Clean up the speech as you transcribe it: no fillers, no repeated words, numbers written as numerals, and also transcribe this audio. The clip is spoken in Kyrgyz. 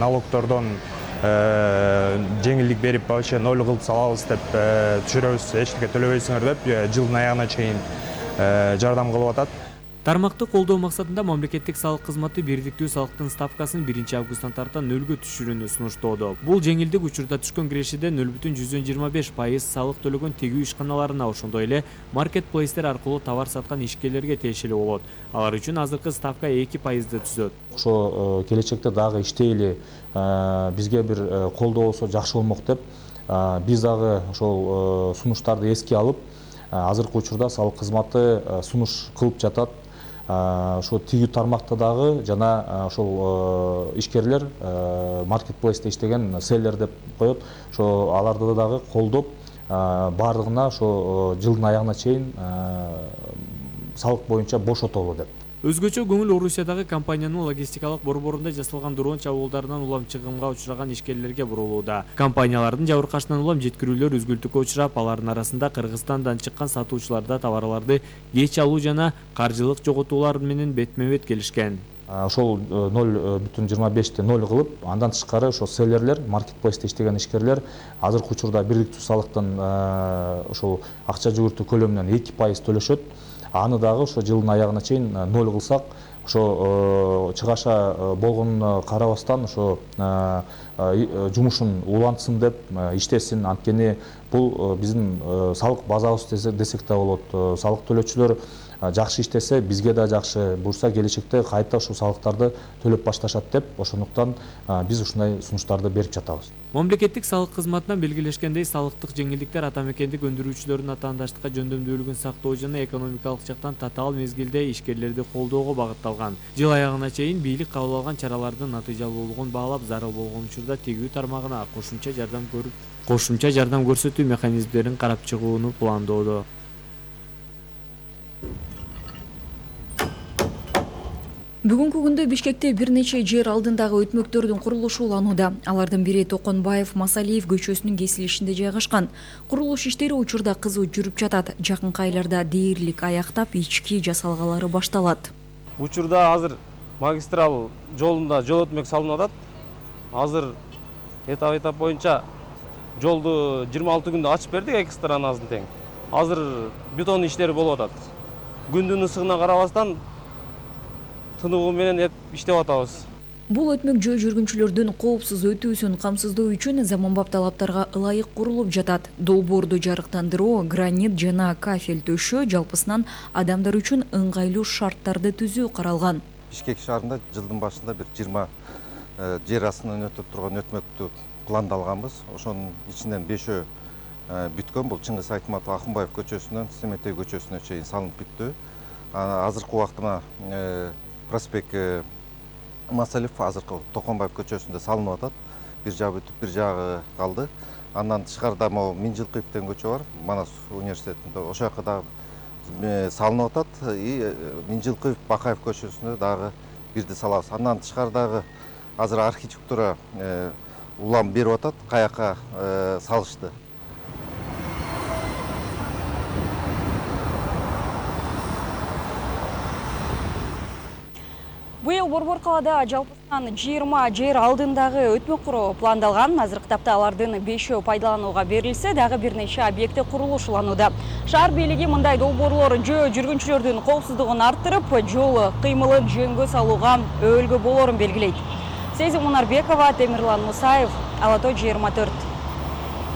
налогтордон жеңилдик берип вообще 0 кылып салабыз деп түшүрөбүз, эч нерсе төлөбөйсүңөр деп жылдын аягына чейин жардам кылып атат. Тармакты колдоо максатында мамлекеттик салык кызматы бирдиктүү салыктын ставкасын 1 августтан тарта 0 түшүрүүнү сунуштоодо. Бул жеңилдик учурда түшкөн кирешеде 0,125% салык төлөгөн тегүү ишканаларына, ошондой эле маркетплейстер аркылуу товар саткан ишкерлерге тиешелүү болот. Алар үчүн азыркы ставка 2%ды түзөт. Ошо келечекте дагы иштейли, бизге бир колдоо болсо жакшы болмок деп биз дагы ошол сунуштарды эске алып, азыркы учурда салык кызматы сунуш кылып жатат. Ошо тигүү тармакта дагы жана ошол ишкерлер маркетплейсте иштеген селлер деп коет. Ошо аларды дагы колдоп, бардыгына ошо жылдын аягына чейин салык боюнча бошотолу деп. Өзгөчө көңүл Орусиядагы компаниянын логистикалык борборунда жасалган дрон чабуулдарынан улам чыгымга учураган ишкерлерге бурулууда. Компаниялардын жабыркашынан улам жеткирүүлөр үзгүлтүккө учурап, алардын арасында Кыргызстандан чыккан сатуучуларда товарларды кеч алуу жана каржылык жоготуулар менен бетме-бет келишкен. Ошол 0,25-те 0 кылып, андан тышкары ошо селлерлер, маркетплейсте иштеген ишкерлер азыркы учурда бирдиктүү салыктын ошол акча жүгүртүү көлөмүнөн 2% төлөшөт. Аны дагы ошо жылдын аягына чейин 0 кылсак, ошо чыгаша болгонуна карабастан ошо жумушун улантсын деп иштесин. Анткени бул биздин салык базабыз десек да болот. Салык төлөөчүлөр жакшы иштесе, бизге да жакшы, бурса келечекте кайта ушул салыктарды төлөп башташат деп, ошондуктан биз ушундай сунуштарды берип жатабыз. Мамлекеттик салык кызматынан белгилешкендей, салыктык жеңилдиктер атамекендик өндүрүүчүлөрдүн атаандаштыкка жөндөмдүүлүгүн сактоо жана экономикалык жактан татаал мезгилде ишкерлерди колдоого багытталган. Жыл аягына чейин бийлик кабыл алган чаралардын натыйжалуулугун баалап, зарыл болгон учурда тегүү тармагына кошумча жардам көрсөтүү механизмдерин карап чыгууну пландоодо. Бүгүнкү күндө Бишкекте бир нече жер алдындагы өтмөктөрдүн курулушу уланууда. Алардын бири Токонбаев Масалиев көчөсүнүн кесилишинде жайгашкан. Курулуш иштери учурда кызуу жүрүп жатат. Жакынкы айларда дээрлик аяктап, ички жасалгалары башталат. Учурда азыр магистрал жолунда жол өтмөк салынып атат. Азыр этап боюнча жолду 26 күндө ачып бердик, эки сторонасын тең. Азыр бетон иштери болуп атат. Күндүн ысыгына карабастан тынугу менен иштеп атабыз. Бул өтмөк жөө жүргүнчүлөрдүн коопсуз өтүүсүн камсыздоо үчүн заманбап талаптарга ылайык курулуп жатат. Долбоорду жарыктандыруу, гранит жана кафель төшөө, жалпысынан адамдар үчүн ыңгайлуу шарттарды түзүү каралган. Бишкек шаарында жылдын башында бир 20 жер астынан өтүп турган өтмөктү пландалганбыз. Ошонун ичинен 5-өө бүткөн. Бул Чыңгыз Айтматов Акынбаев көчөсүнөн Семетей көчөсүнө чейин салынып бүттү. Азыркы убакта проспект Масалиев азыркы Токонбаев көчөсүндө салынып атат. Бир жагы бүтүп, бир жагы калды. Андан тышкарыда могу Минжилкыев деген көчө бар, Манас университетинде. Ошол жака дагы салынып атат. Минжилкыев Бакаев көчөсүндө дагы бирди салабыз. Андан тышкарыдагы азыр архитектура улам берип атат, каяка салышты. Быйыл Борбор калаада жалпысынан 20 жер алдындагы өтмөк куруу пландалган. Азыркы тапта алардын 5-өө пайдаланууга берилсе, дагы бир нече объекти курулушуланууда. Шаар бийлиги мындай долбоорлор жөө жүргүнчүлөрдүн коопсуздугун арттырып, жол кыймылын жөнгө салууга өбөлгө болорун белгилейт. Сезим Мунарбекова, Темирлан Мусаев, Ала Той 24.